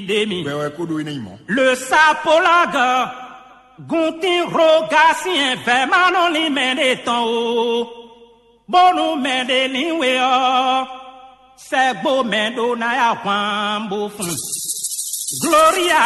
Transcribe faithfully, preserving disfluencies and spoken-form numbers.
ɖe mi. Wɛ wɛ kó ɖó é ná nyí mɔ̌. Le sapolague guntin roga sin vɛmanɔlin mɛ ɖe tɔn o, bónú mɛ ɖe ní we ɔ́, sɛgbo mɛ ɖó ná ya hwan bó fun. Gloria